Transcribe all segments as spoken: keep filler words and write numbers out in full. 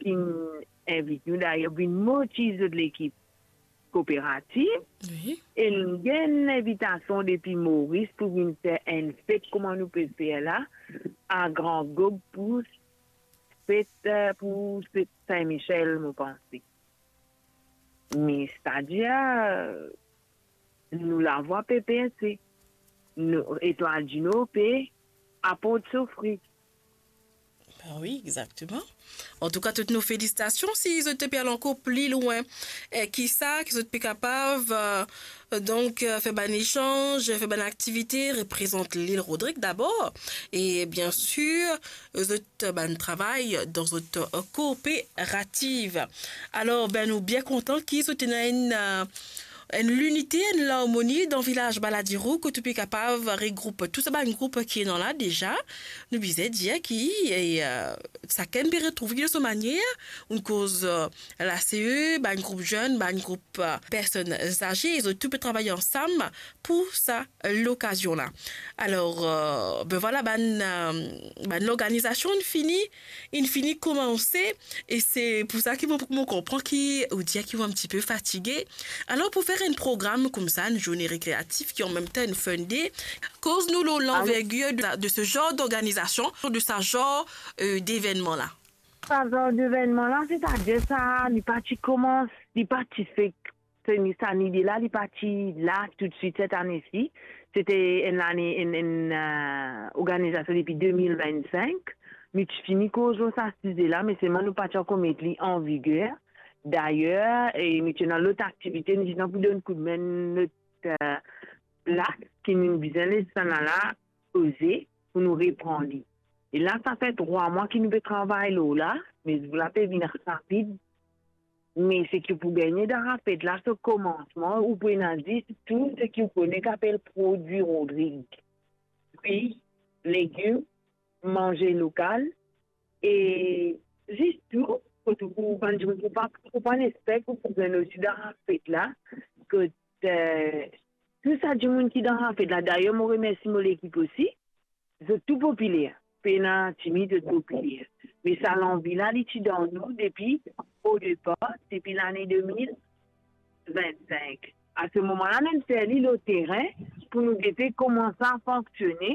inn invit nou, dayer vinn motiz zot lekip kooperativ, Wi. e nou gagn envitasion depi Moris pou vinn fer enn fet kouma nou pe fer la, a Gran Gob pou fet, eh, pou fet Sin Misiel, mo panse. Me, setadir, eh, nou lavwa pe perse. Nou, Etwal Dino pe aport so fri. Ben wi, exakteman. Antouka, tout nou felisitasion. Si zot pe al ankor pli lwin, eh, ki sa, ki zot pe kapav, eh, donk, eh, fer bann esanz, fer bann aktivite, reprezant Lil Rodrig dabor. E, biensir, zot bann travay dan zot, eh, kooperativ. Alor, ben, nou bien kontan ki zot ena enn, eh, enn linite, enn larmoni dan vilaz Baladiro, kot ou pe kapav regroup tou sa bann group ki ena la deza. Nou bizin dir ki, eh, eh, sakenn pe retrouv li dan so manier, nou koz, eh, la C E, bann group zenn, bann group, eh, personn aze, zot tou pe travay ansam pou sa lokazion la. Alor, eh, ben vwala, bann, eh, bann lorganizasion inn fini, inn fini koumanse, e se pou sa ki mo, mo konpran ki ou dir ki ou enn tipe fatige. Alor, pou fer enn program koumsa, enn zourne rekreatif ki an mem tan enn fun day, koz nou lor lanvergir de, de se zar d'organizasion, de sa zar, eh, devennman la. Sa zar devennman la, setadir sa, li pa ti koumans, li pa ti fek, se ni sa lide la, li pa ti la toutswit set ane si. Se ti enn lane, enn, enn, eh, organizasion depi de mil vennsenk. Nou ti fini koz lor sa size la, me selman nou pa ti ankor met li an viger. Dayer, e nou ti ena lot aktivite, nou ti ena pou donn koudme lot, eh, plas ki nou bizin les sa la, la, oze pou nou repran li. E la, sa fer trwa mwa ki nou pe travay lor la, me zour la pe vinn rapid. Me seki pou gagne dan sa fet la, so koumansman, ou pou ena zis tou seki ou kone ki apel prodwi Rodrig. Fri, legim, manze lokal, e zis tou, kot ou, ou bann dimoun pou pa, pou pa nespek, ou pou gagn osi dan sa fet la, kot, eh, tou sa dimoun ki dan sa fet la. Dayer, mo remersi mo lekip osi. Zot tou popiler. Pena timid, zot popiler. Me sa lanvi la, li ti dan nou depi, o depar, depi lane de mil vennsenk. A se moman la, nou fer li lor terin pou nou gete kouma sa fonksione,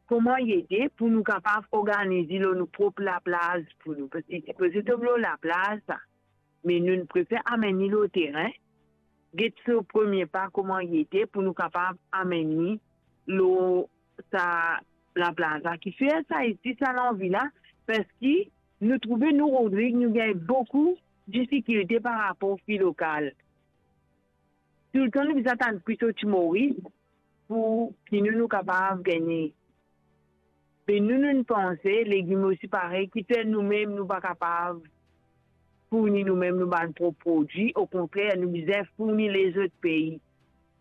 kouma li ete, pou nou kapav organiz li lor nou prop laplaz pou nou. Paski li sipoze tom lor laplaz, sa. Me nou prefer amenn li lor terin, get so premie pa kouma li ete, pou nou kapav amenn li lor sa laplaz la. Kifer sa isi, sa lanvi la, paski nou trouve nou, Rodrig, nou gagn boukou difikilte par rapor fri lokal. Toultan nou bizin atann fri sorti Moris pou ki nou, nou kapav gagne. Me nou, nou panse, legim osi parey, kifer nou mem, nou pa kapav fourni nou mem nou bann prop prodwi. Okontrer, nou bizin fourni lezot pei.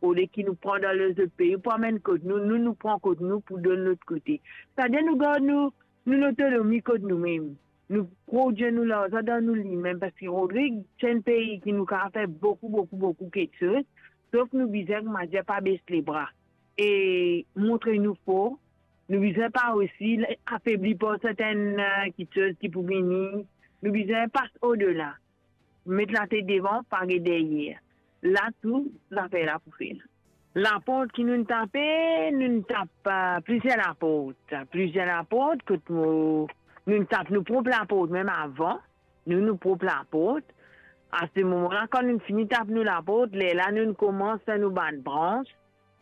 Olie ki nou pran dan lezot pei pou amenn kot nou, nou, nou pran kot nou pou donn lot kote. Setadir nou gard nou, nou lotonomi kot nou mem. Nou prodwir nou larzan dan nou limem, paski Rodrig, se enn pei ki nou kapav fer boukou, boukou, boukou kiksoz, sof nou bizin, koumadir, pa bes lebra e montre nou for. Nou bizin pa osi afebli par sertenn, eh, kiksoz ki pou vini. Nou bizin pas odela. Met latet devan, pa get deryer. La tou, zafer la pou fer. Laport ki nou tape, nou tap, eh, plizier laport. Plizier laport, kot nou, nou tap nou prop laport, mem avan, nou, nou prop laport. A se moman la, kan nou fini tap nou laport, lerla nou koumans fer nou bann brans,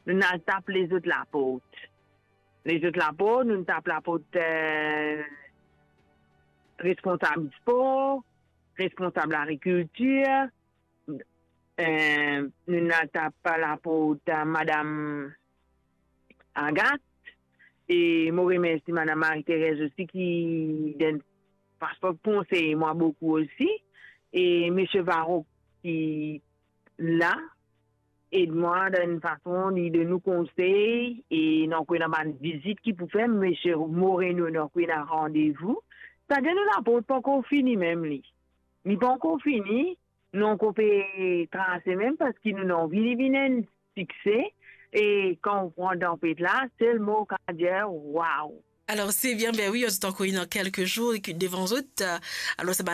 nou al tap lezot laport. Lezot laport, nou tap laport, eh, responsab spor, responsab lagrikiltir, eh, nou al tap laport, eh, madam Agathe, e mo remersi madam Marie-Thérèse osi ki donn, parski konsey mwa boukou osi, e misie Varro ki la, ed mwa dan enn fason, li donn nou konsey, e nou ankor ena bann vizit ki pou fer, misie Moreno, nou ankor ena randevou. Setadir nou laport pankor fini mem li. Li pankor fini, nou ankor pe trase mem, paski nou anvi li vinn enn sikse, e kan ou pran dan fet la, selman ou kapav dir, waw! Alor, se bien, ben wi, zot ankor ena kelke zour devan zot, eh, alor sa